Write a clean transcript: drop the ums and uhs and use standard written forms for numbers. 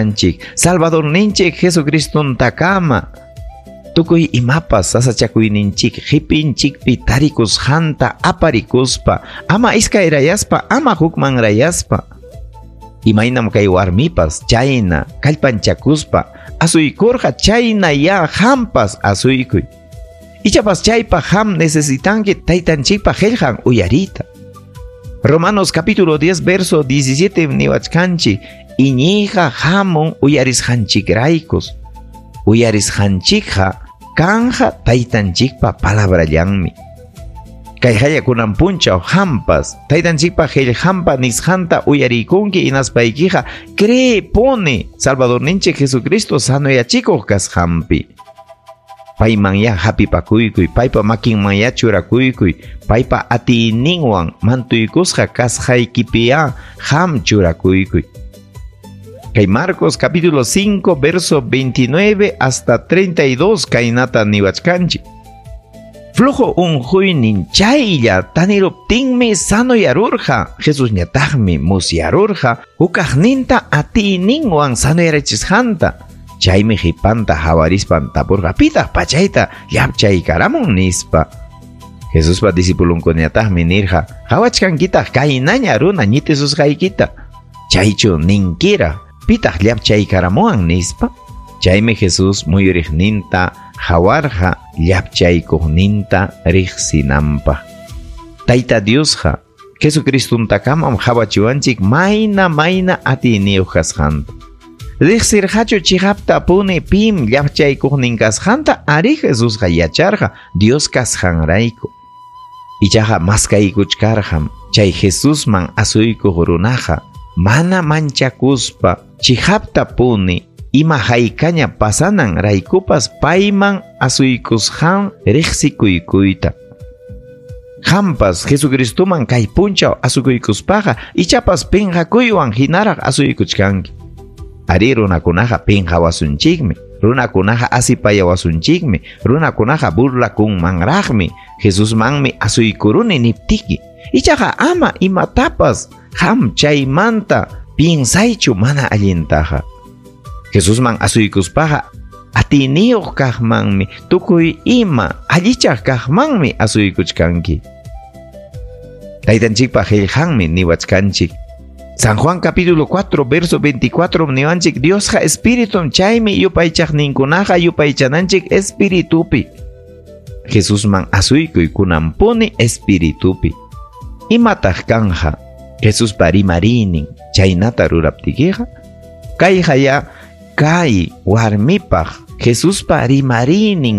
Anchik, Salvadorninchik Jesucristontakama. Tukuy imapas sasachakuyninchik qipinchikpi tarikusqanta aparikuspa, ama iskayrayaspa, ama hukmanrayaspa. Imaynam kay warmipas chayna kallpanchakuspa asuykurqa, chayna ya hampas asuykuy. Ichapas chaypaq ham necesitanki taytanchikpa qillqan uyariyta. Romanos capítulo 10 verso 17 niwachkanchik, iñiyqa hamun uyarisqanchikraykus. Uyarisqanchikqa kanja taytanchikpa palabrallanmi. Kay hayakunan punchaw hampas taytanchikpa qillqanpa nisqanta uyariykunki, hinaspaykiqa cree puni Salvadorninchik Jesucristo sanoyachikuq kasqanpi. Payman ya hapipakuykuy, paypa makinman ya churakuykuy, paypa atiyninwan mantuykusqa kasqaykipiya ham churakuykuy. Kay Marcos capítulo 5 verso 29 hasta 32 kaynata niwachkanchik. Flujo unquynin chaylla taniruptinmi sanoyarurqa. Jesusñataqmi musyarurqa hukaqninta atiyninwan sanoyarachisqanta. Chaymi qhipanta hawarispan tapurqa, pitaq pachayta llapchaykaramun nispa. Jesuspa discipulunkunañataqmi nirqa, qhawachkankitaq kaynaña runa ñitisusqaykita. Chaychu ninkira, pitaq llapchaykaramuwan nispa. Chaymi Jesús muyuriqninta hawarqa llapchaykuqninta riqsinanpaq. Tayta Diosqa Jesucristuntakamam hawachiwanchik mayna mayna atiyniyuq kasqanta. Riqsirqachu chiqapta puni pim llapchaykuqnin kasqanta, ari Jesusqa yacharqa Dios kasqanrayku. Ichaqa maskaykuchkarqam chay Jesusman asuykuq runaqa mana manchakuspa chiqapta puni ima haykaña pasanan raykupas payman asuykusqan riqsikuykuyta. Hampas Jesucristoman kay punchaw asukuykuspaqa ichapas pinqakuywan hinaraq asuykuchkanki. Ari runakunaqa pinqawasunchikmi, runakunaqa asipayawasunchikmi, runakunaqa burlakunmanraqmi, Jesusmanmi asuykuruni niptiki. Ichaqa ama imatapas ham chaymanta piensaychu mana allintaqa. Jesusman asuykuspaqa atiyniyuq kaqmanmi, tukuy ima allichaq kaqmanmi asuykuchkanki. Taytanchikpa qillqanmi niwachkanchik. San Juan capítulo 4 verso 24 niwanchik, Diosqa espíritum, chaymi yupaychaqninkunaqa yupaychananchik espiritupi. Jesusman asuykuy kunanpuni espiritupi. Imataq kanja Jesuspa rimariynin chaynata ruraptikiqa? Kayqa ya kay warmipaq Jesuspa rimariynin.